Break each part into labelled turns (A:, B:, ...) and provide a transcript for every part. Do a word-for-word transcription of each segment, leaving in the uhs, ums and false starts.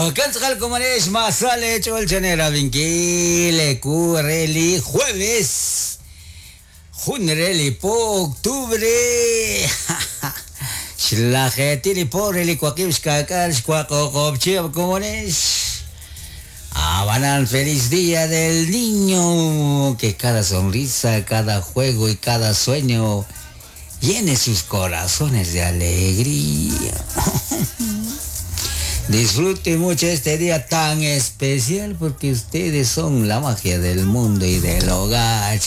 A: Okan komonex masale cholchanera vinkile kureli jueves junreli po octubre xlajetili po reli kuakib xkakal xkuakokopchi komonex Abanal, feliz día del niño, que cada sonrisa, cada juego y cada sueño llene sus corazones de alegría. Disfruten mucho este día tan especial porque ustedes son la magia del mundo y del hogar.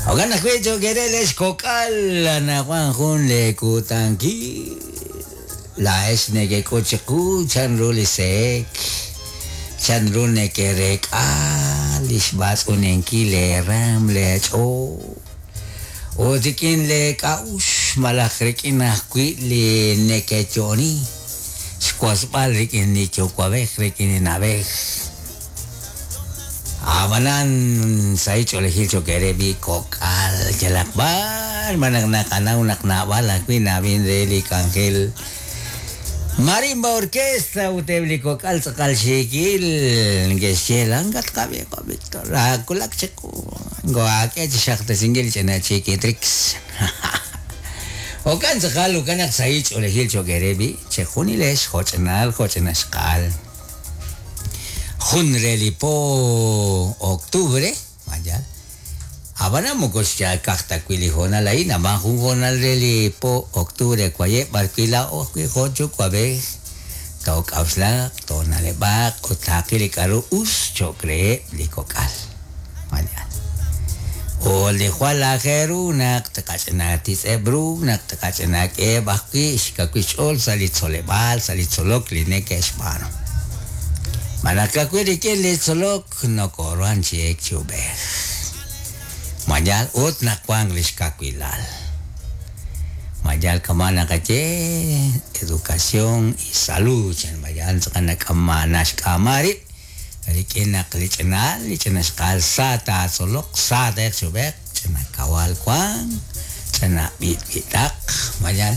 A: Ogan ajwi' quereles kok'al anaqwan jun le kutankil laa'ex nekek'uchiqu chanru li seek chanru nekerek'a li xb'atz'unenkil leeram leech'ool ut rik'in leek'a'ux malaj rik'in ajwi' li nekeyo'oni xwasb'al rik'in li yuwa'b'ej rik'in li na'b'ej Abanan sa ch'oolejil chokerebi kok'al yalaq b'ar manaq naqanaw naq nab'al ajwi' nab'in re li k'anjel Marimba Orquesta uteb li kok'al tz'aqal xiikil nge'xye langat qab'i Víctor akulak chiqu ngoak'e chi xaqtesinkil ch'ina chikitrix okan tz'aqal ukanaq sa ch'oolejil chokerebi chejunilex joch'inal joch'inaxqal jun relipo octubre vaya abana moko xkajta wili jonal ahí nama jun jonal relipo octubre kwaye barquila o jochu kwabe tok awslaq tonalebaq utaqil karu us chokre likokal vaya o li jwal ajeru naq tqach'ina tis'ebru naq tqach'ina k'eb ajwi' xkawich'ol salitzole'b'al salitzolok li neke'xb'aanu Manakakwi rik'in li tzolok nokoruhan chi'ek chub'ej Mayal ut naqwan li xkakwilal Mayal kama naqaye educación y salud chan mayal tz'aqal nak'amana xk'ama rib' rik'in naq li ch'inal li ch'ina xqal sa taatzolok sa te'q chub'ej ch'ina kawal wan ch'ina b'itb'itaq mayal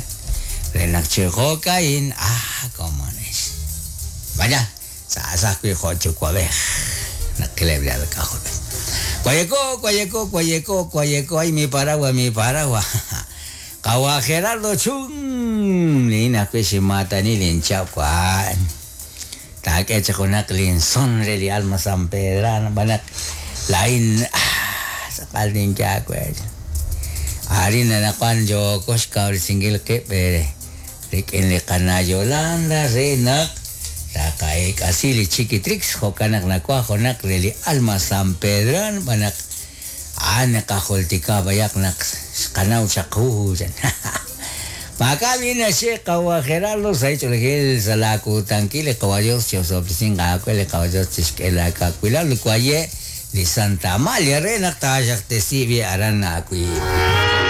A: re naq chijo'ka'in ah komonex vaya sa ajwi' jo' yuwa'b'ej naqileb' li alk'ajol Cuayecó, cuayecó, cuayecó, cuayecó, ay mi paraguas, mi paraguas. Kawa Gerardo Chung, nina kwisimata ni linchaw kwan. Takecha kunak linson reli alma San Pedrano, banak lain, ah, sakal din kya kwe. Ari na nakwan jokos kaul singgil ke pere. Rikin li kana Yolanda renak. Takaek asili chiquitrix jokanak nakwa jonak reli alma San Pedran banak anakajoltika bayak nak xqanaw chaqhu Makabi na she kawa Gerardo sa ichulejil salakutankil kawayo chosoplisin kakwele kawayo chishkela kakwila lukwaye li Santa Amalia renak tashak tesibi aran akwi.